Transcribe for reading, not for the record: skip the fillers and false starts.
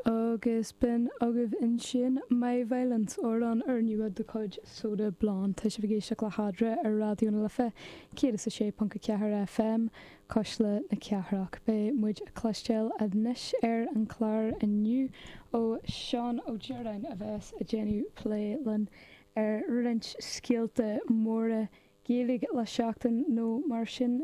Agus b'in agaibh ansin My Violence, amhrán úrnua de chuid Soda Blonde. Tá sibh ag éisteacht le hEadra ar Raidió na Life 106.4 FM, Cuisle na Cathrach. Beidh muid ag cloisteáil anois ar an chlár inniu ó Seán Ó Direáin a bheas ag déanamh plé linn ar roinnt scéalta móra Gaeilge le seachtain nó mar sin.